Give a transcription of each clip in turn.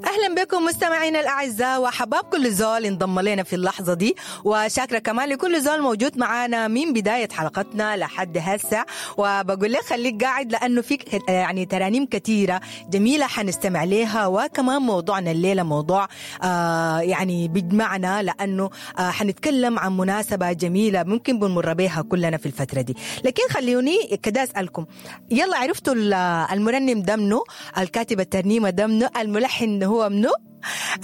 اهلا بكم مستمعينا الاعزاء وحباب كل زول انضم لنا في اللحظة دي، وشاكره كمان لكل زول موجود معانا من بداية حلقتنا لحد هسه. وبقول لك خليك قاعد لانه فيك يعني ترانيم كثيرة جميلة حنستمع لها، وكمان موضوعنا الليلة موضوع يعني بيجمعنا، لانه حنتكلم عن مناسبة جميلة ممكن بنمر بها كلنا في الفترة دي. لكن خلوني كده اسالكم، يلا عرفتوا المرنم ده منو؟ الكاتب الترنيمة ده منو؟ الملحن هو منو؟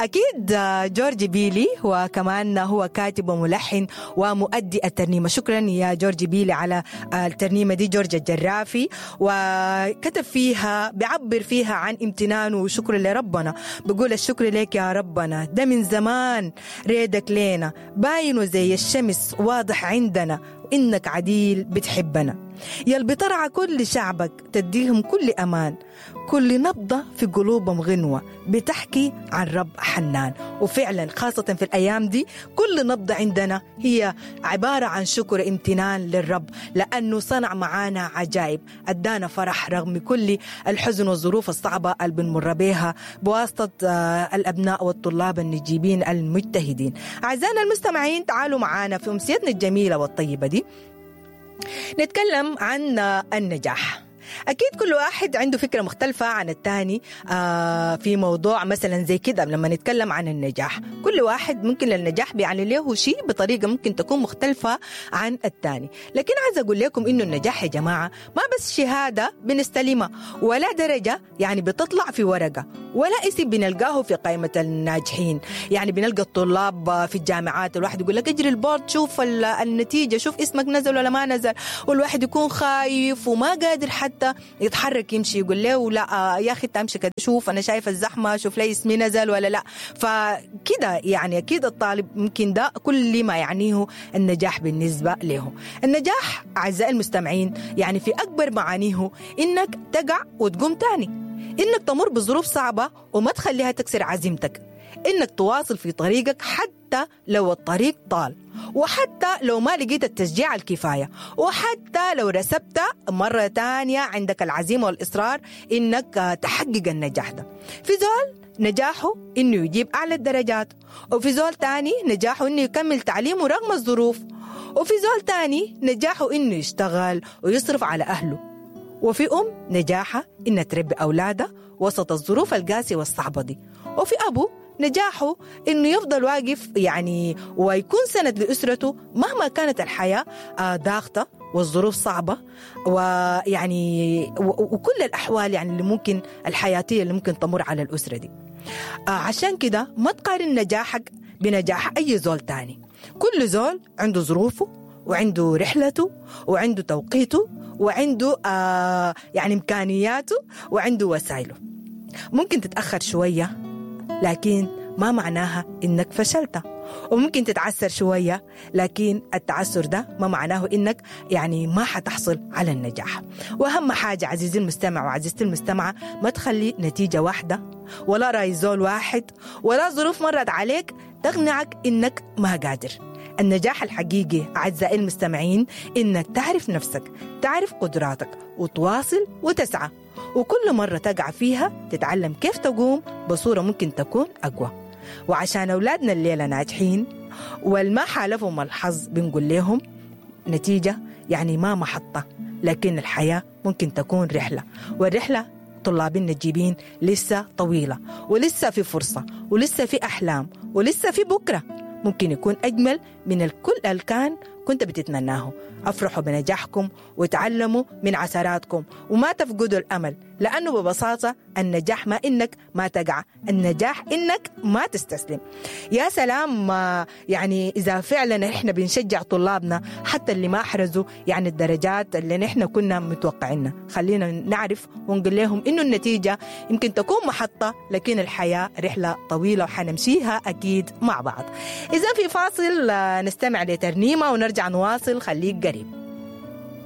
أكيد جورج بيلي، وكمان هو كاتب وملحن ومؤدي الترنيمة. شكرا يا جورج بيلي على الترنيمة دي، جورج الجرافي. وكتب فيها، بيعبر فيها عن امتنانه وشكر لربنا، بيقول الشكر لك يا ربنا، ده من زمان ريدك لينا باين وزي الشمس واضح عندنا، إنك عديل بتحبنا، يا اللي بترعى كل شعبك تديهم كل أمان، كل نبضة في قلوبهم غنوة بتحكي عن رب حنان. وفعلا خاصة في الأيام دي كل نبضة عندنا هي عبارة عن شكر امتنان للرب، لأنه صنع معانا عجائب، أدانا فرح رغم كل الحزن والظروف الصعبة اللي بنمر بيها بواسطة الأبناء والطلاب النجيبين المجتهدين. أعزائنا المستمعين، تعالوا معانا في أمسيتنا الجميلة والطيبة دي نتكلم عن النجاح. أكيد كل واحد عنده فكرة مختلفة عن الثاني في موضوع مثلا زي كده. لما نتكلم عن النجاح، كل واحد ممكن للنجاح بيعني له شيء بطريقة ممكن تكون مختلفة عن الثاني. لكن عايز أقول لكم إنه النجاح يا جماعة ما بس شهادة بنستلمها، ولا درجة يعني بتطلع في ورقة، ولا اسم بنلقاه في قائمة الناجحين. يعني بنلقى الطلاب في الجامعات الواحد يقول لك اجري ال board شوف النتيجة، شوف اسمك نزل ولا ما نزل، والواحد يكون خايف وما قادر حتى يتحرك يمشي، يقول له لا يا اخي انت امشي كده، شوف انا شايف الزحمة، شوف لي اسمي نزل ولا لا. فكده يعني اكيد الطالب ممكن ده كل ما يعنيه النجاح بالنسبة له. النجاح اعزائي المستمعين يعني في اكبر معانيه انك تقع وتقوم تاني، انك تمر بظروف صعبة وما تخليها تكسر عزيمتك، انك تواصل في طريقك حتى لو الطريق طال، وحتى لو ما لقيت التشجيع الكفاية، وحتى لو رسبت مرة تانية عندك العزيمة والإصرار إنك تحقق النجاح ده. في زول نجاحه إنه يجيب أعلى الدرجات، وفي زول تاني نجاحه إنه يكمل تعليمه رغم الظروف، وفي زول تاني نجاحه إنه يشتغل ويصرف على أهله، وفي أم نجاحها إنها تربي أولادها وسط الظروف القاسية والصعبة دي، وفي أبو نجاحه إنه يفضل واقف يعني ويكون سند لأسرته مهما كانت الحياة ضاغطة والظروف صعبة، ويعني وكل الأحوال يعني اللي ممكن الحياتية اللي ممكن تمر على الأسرة دي. عشان كده ما تقارن نجاحك بنجاح أي زول تاني. كل زول عنده ظروفه وعنده رحلته وعنده توقيته وعنده يعني إمكانياته وعنده وسائله. ممكن تتأخر شوية لكن ما معناها إنك فشلت، وممكن تتعسر شوية لكن التعسر ده ما معناه إنك يعني ما حتحصل على النجاح. وأهم حاجة عزيزي المستمع وعزيزتي المستمعة، ما تخلي نتيجة واحدة ولا رأي زول واحد ولا ظروف مرت عليك تقنعك إنك ما قادر. النجاح الحقيقي أعزائي المستمعين إنك تعرف نفسك، تعرف قدراتك، وتواصل وتسعى، وكل مرة تقع فيها تتعلم كيف تقوم بصورة ممكن تكون أقوى. وعشان أولادنا الليلة ناجحين والما حالفهم الحظ بنقول لهم نتيجة يعني ما محطة، لكن الحياة ممكن تكون رحلة، والرحلة طلاب النجيبين لسه طويلة، ولسه في فرصة، ولسه في أحلام، ولسه في بكرة ممكن يكون أجمل من الكل الكان كنت بتتمناه. أفرحوا بنجاحكم وتعلموا من عثراتكم وما تفقدوا الأمل، لأنه ببساطة النجاح ما إنك ما تقع، النجاح إنك ما تستسلم. يا سلام، يعني إذا فعلا إحنا بنشجع طلابنا حتى اللي ما أحرزوا يعني الدرجات اللي نحن كنا متوقعينها، خلينا نعرف ونقول لهم إنه النتيجة يمكن تكون محطة، لكن الحياة رحلة طويلة وحنمشيها أكيد مع بعض. إذا في فاصل نستمع لترنيمة ونرجع نواصل، خليك قريب.